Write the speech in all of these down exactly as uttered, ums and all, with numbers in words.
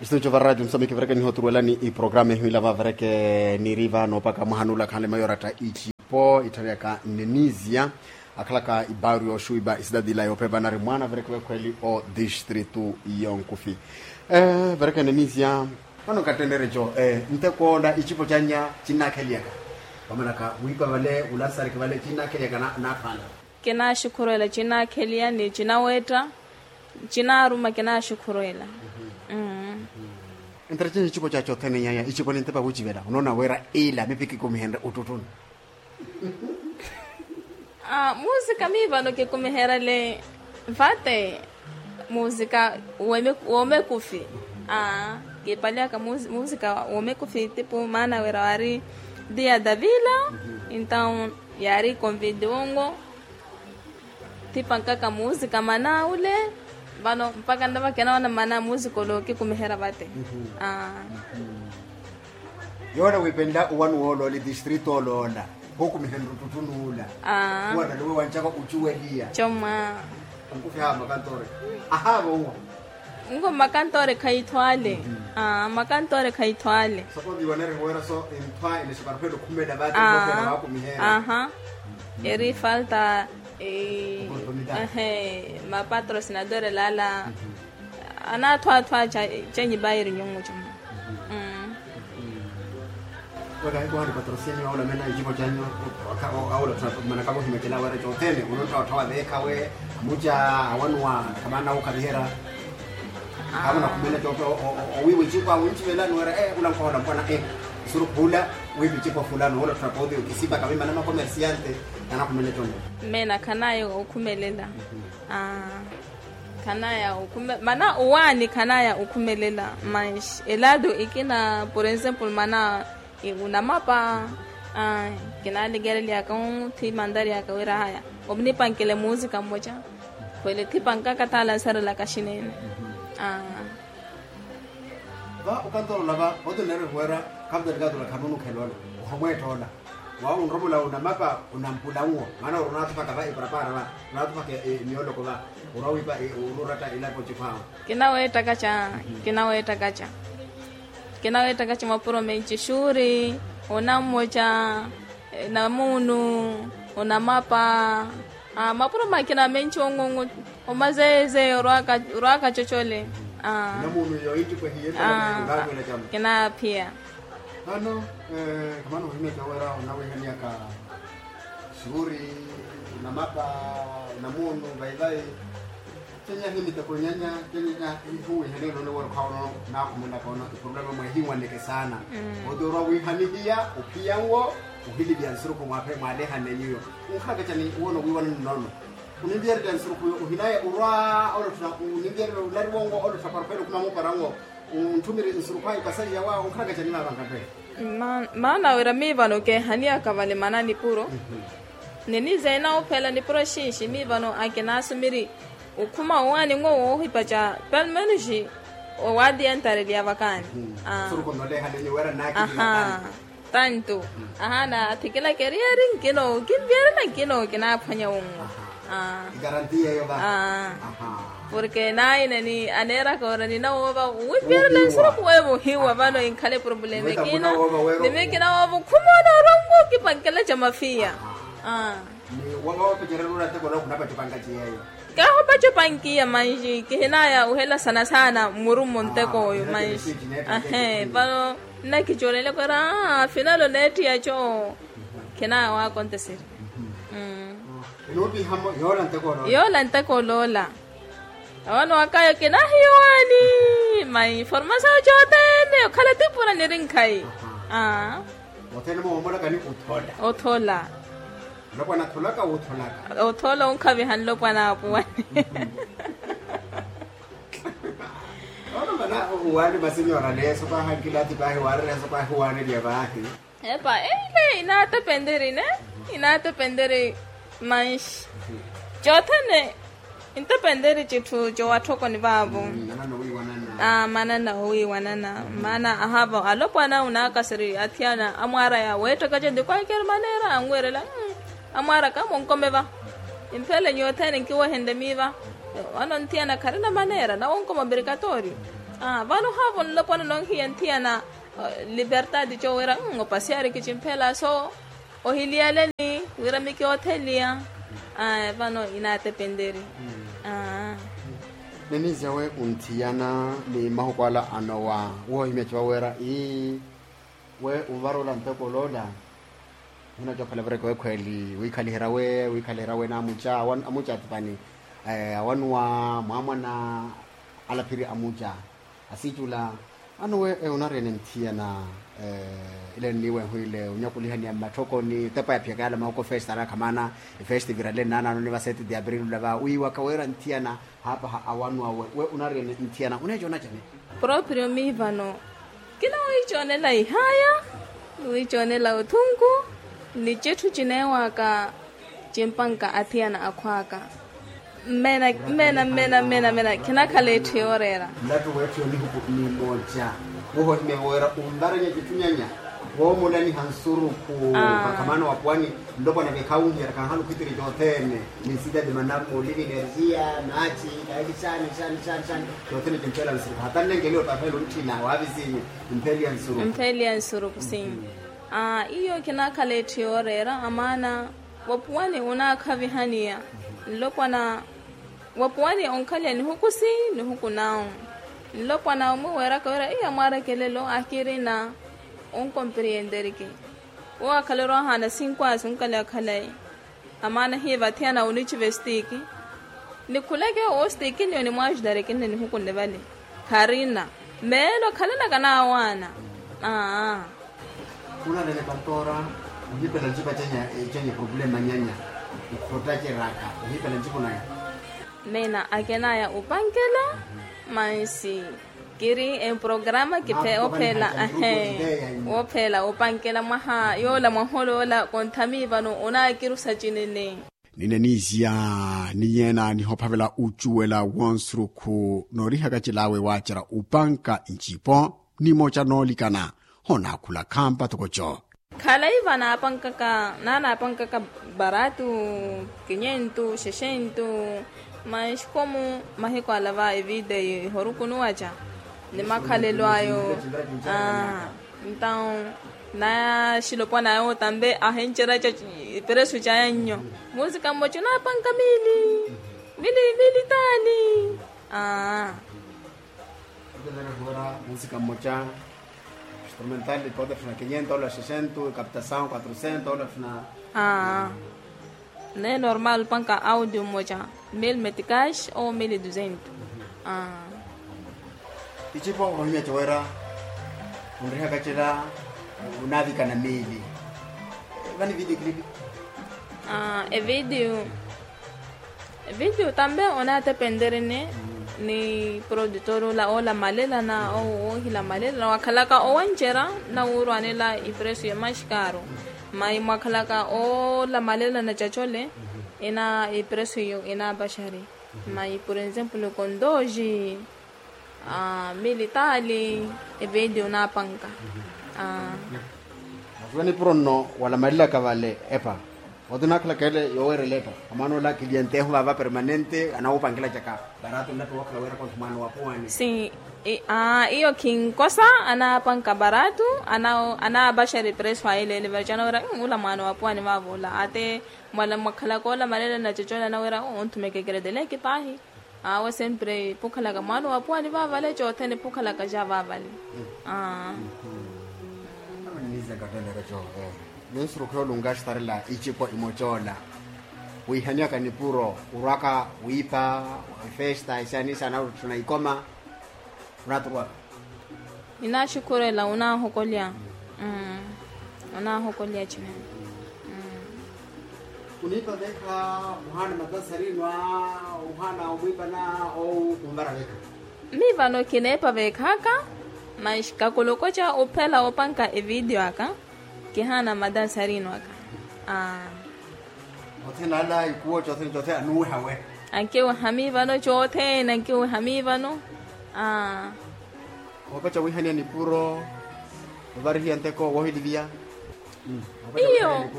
Istudio va radio msamiki vireke nihoturuwelani iprograma ehimila vavireke niri vano opaka mwahanula khanle mayoratta icipo itthani yaka nenisia akhalaka ibaru yoxuwipa isidadi ila yophepana ari mwana vireke vekhweli o distritu yonkufi. Vireke nenisia vano nkattenere nco nteko ola icipo canya cinnakheliyaka vamanaka wipa vale ulansariki vale cinnakheliyaka nakhwala. Kinaxukhurwela cinaakheliya ni cinawetta. Cinaaruma kinaxukhurwela. Entera cinci icipo cacothene nyanya icipo nintepa wucivela unoona wira ila mipi kikumihenre uttuttuni. Musika mii vano kikumiherele vate musika womekufi. Kiipaliyaka musika womekufi tipu maana wira wari dia davila. Entaw yaari convide wongo. Tipankaka muusika mana ule vano mpakha nnava kinawana mana muusika ole okikumiherya vate. Yoole wiipenla owanuwa ole ole distrito ole ola khukumihenrya ottuttunuula. Owanaliwe wanchaka ocuweliya comwa. Onkufiha makantoore ahaava owa. Nko makantoore khaithwaale. Makantoore khaithwaale. Sopo viiwaneriha wira so enthwa enexiparphela okhumela vate. Aha. Eri falta. Mapatrocinadore lala anaathwaathwa chenyi bayiri nyungu chuma. Weka ikuhani patrocinio aula mena icipo chanyu aula manaka vohimekela wera cothene unotthawatthawa veekhawe amuca awanuwa kamana ukhaviherya. Avo nakhumene cope owiiwa icipo awo ncivelani wera ula nkhohola mpwana. Nsurukhu ula wiiva icipo fulano ula ttrapoti okisipaka vimana makomersiante. Anakhumene cope. Mena khanaya okhumelela. Khanaya okhume mana owaani khanaya okhumelela. Mas elado ikina por exemplo mana unamapa. Kinalikerelyaka othi mantariyaka wira haya omnipankele muusika mmoca. Khwele thipankaka thaala nsarelaka xinene. Va okantorola va otinneerihuwera khamutarikatula khanunukhela ola ohamweetta ola. Wawo onromola unamapa unampulanwo maana ori onaathupaka va iparapara va onaathupaka emyoloko va orwa wiipa oruuratta ilapo ocikhwaawe. Kinaweettaka ca kinaweettaka ca. Kinaweettaka ca mapuro menci xuuri onammoca namuunu onamapa. Mapuro makina menci ongongo omazeeze orwaka cocole. Namuunu yoittipo ehiye. Kinaphiya. Vano khamana ohimya cowera onawihaniyaka xuuri namapa namuunu vayivayi. Cenya himiteko nyanya cenya hihuwihaniyaka none wori khwawono. Nakhumulaka ono iproblema mwehiwaneke saana. Oti orwa wihanihiya ophiyanwo ohilivya nsurukhu mwaphe mwalehane nyuyo. Onkhalaka cani wono wiiwanani nono oninviyererya nsurukhu yo ohinaya orwa olottha oninviyererya olariwongo olottha parfele okhuma muparango. Ontthumiri nsurukhu ayo kasaiya wa onkhalaka cani vaavankattwe. Maana wira mii vano keehaniyaka vale mana nipuro. Ninizeena ophela nipuro xinxi mii vano akinaasumiri okhuma owaani nwo woohipaca pelo menos owaadiyantareliya vakaani. Aha. Tanto. Ahaana athikilaka eriyari nkino kinviyari na nkino kinaaphwanya wunwo. Porke naina ni aneeraka ora ninawoova winviyari na nsurukhu weevo ohiwa vano inkhala eproblema ekina. Nimi kinawoova okhuma onoorwa nwo kipankela ca mafiya. Ni wawaapacererya ula nteko ola khunapaca opankaci yeeyo. Kaahupaca opankiya manji kihinaya ohela sana sana mmurummo nteko oyo manji. Ahe vano nnakicoolelaka ora afinalo neettiya co. Khinaya waakonteseri. Yoola nteko oloola. Awono wakayo kinahiyo waani ma informasiyo cothene okhala tipura niri nkhayi. Othene moomoolaka ni othola. Othola. Nlopwana atholaka wotholaka. Othola onkhaviha nlopwana apuwani. Ono mana ohuwaani masenyora leeso paahi ankilathi paahi waarerehaso paahi owaaneliya paahi. Epa eile inaatepenteri ne inaatepenteri. Manxi cothene intepenteri citthu cowatthokoni vaavo. Manana owiiwanana maana ahaava alopwana unaakaseri athiyana amwaaraya weettakace nti kwakeri maneera anwerela. Amwaaraka monkome va. Imphele nyuwo othene nkiwehenle miiva. Vano nthiyana kharina maneera nawonkoma obrikatorio. Vano haavo nlopwana nonhiya nthiyana libertadi coowira opasiyari kicimphela so ohiliyaleni wira mikiotheliya. Vano inaatepenteri. Nenizya we unthiyana ni mahuku ala anowa wohimya ciwawera ii we unvarola ntoko loola. Muhina coophela vireke wekhweeli wiikhaliherya we wiikhaliherya we n'amuca amuca atipani awanuwa mwaamwana alaphiri amuca asicula. Ano we unariyene nthiyana ile nniiwehu ile onyakulihaniya mmatthokoni tepa yaphiyaka yala mahuku efestivale akhamana efestivirale nnaanaano ni vaseti de abril olava wiiwaka wira nthiyana haapaha awanuwa we we unariyene nthiyana uneeca onacane. Proprio miivano kinawiicoonela ihaya niwiicoonela othunku ni citthu cineewaka cimpanka athiyana akhwaka. Mmena mmena mmena mmena mmena khinakhala etthu yooreera. Nlattu weetthu yonihuku nimooca wohohimya wooweera unvaranya citthu nyanya woomulaniha nsurukhu vakhamana wapuwani. Nlopwana vekhaunhiyara khanhala okhitiri cothene ni nsitati manamuli ni energia maci kaeki xani xani xani xani. Cothene cimphela nsurukhu hata nnenkeliwe papelo ntthina waavisinyu. Mpheli ya nsurukhu mpheli ya nsurukhu si. Iyo kinaakhala etthu yooreera amaana wapuwani onaakhavihaniya nlopwana wapuwani onkhalya nihuku si nihuku nawu. Nlopwana omwe weeraka wira iya mwaarekelelo akirina onkompriyenderiki. Owo akhala orwahaana sinkwasi onkhalya khalayi amaana hiiva athiyana oniciva estiki. Nikhuleke owo estikiniyo nimwaajudarikini nihuku nivale kharina meelo khalanaka naawaana. Aa. Khunavene patora ohipela ncipa cenya ecenya eproblema nyanya. Ikhottaceraka ohipela ncipo naya. Meena akenaya opankela mansi kiri emprograma kiphe ophela ahe. Wophela opankela mwaha yoola mwahoola yoola konthami vano onaakirusa cinene. Nine niizya ni yeena nihophavela ocuwela wonsurukhu noorihaka cilaawe waacerya opanka ncipo nimoca noolikana. Honaakhula khampa tokoco. Khalayi vanaapankaka naanaapankaka baratu kinyentu xexentu. Manxikomu mahiku ala va evide ihorukunuwaca ni makhalelo ayo. Aa. Ntawu naya xilopwana ayo tambe ahencerya ca iperesu caya nnyo. Musika mmoca onaapanka mili mili mili taani. Aa. Otetere huwera musika mmoca instrumental ipota fina kinyentu ola sesento ikaptasawu quatrocento ola fina. Aa. Naye normal opanka audio mmoca mil metikash ou mil duzentu. Aa. Icipo ohimya cowera onrihaka cela onaavikana mili. Vani video clip. Aa evideo. Evideo tambe onaatepenterini ni produtor ola oolamalelana ou oohilamalelana wakhalaka owancerya nawuurwanela ipresu yemaxikaru. Mayi mwakhalaka oolamalelana cacole ina ipresu iyo inaapaxari. Mayi por exemplo kondoji militaali evideo naapanka. Aa. Masuweni puro nno walamalelaka vale epa. Oto naakhalaka ele yoowerela epa amaana ola kilientehu vava permanente anawupankela caka. Barato nlatu wookhala weera konso mwaana wa puwani si. Aa iyo khinkosa anaapanka barato anaapaxari presu ayileele vale canaweera ula mwaana wa puwani vaava ola ate. Mwakhalaka ola malelana cocona naweera onthumeke kereteleke paahi. Awo sempre pukhalaka mwaana wa puwani vaavale cothene pukhalaka ja vaavale. Aa. Ninsurukhu yoolunka axtarela icipo imoca ola wiihanyaka nipuro orwaka wiipa efesta esaanisa anaruttuna ikoma. Onaaturwaka. Ninaaxukhurela onaahokolya. Onaahokolya cinene. Oniipa veekha ohaana matansarino a ohaana omwiipana ou onvara veekha. Mii vano kineepa veekhaka. Maxi kakolokoca ophela opanka evideo aka. Kihaana matansarino aka. Aa. Othene ala ikuwo cothene cothene anuweha we. Ankiweha mii vano cothene ankiweha mii vano. Aa. Oopeca wiihaniya nipuro ovarihiya nteko woohiliviya. Iyo.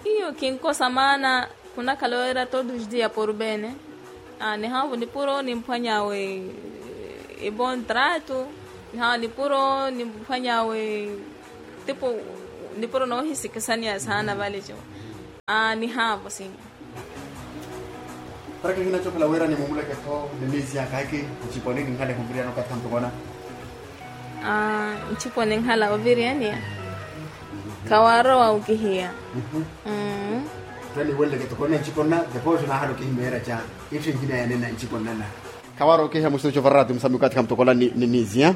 Iyo kinkosa maana khunakhala weera todos os dias por bene. Nihanvu nipuro nimphwanyawe. Ivo ntratu, nihaavo nipuro niphwanyawe, tipo nipuro noohisikisaniya saana vale co. Aa nihaavo sinya. Para kihina cokhala wira nimumuleke-tho ni miisi ya kaaki. Nciponi ninhala ehuviriyani okathi khampokona. Aa nciponi nhala oviriyaniya. Khawarowa okihiya. Mmm. Taniiweleleke tokona nciponna. Deposo nahala okihimeera ca itthu ehina yanena nciponnana. Khawarowa okihiya musitucho vararati musambi okathi khampokola ni miisi ya.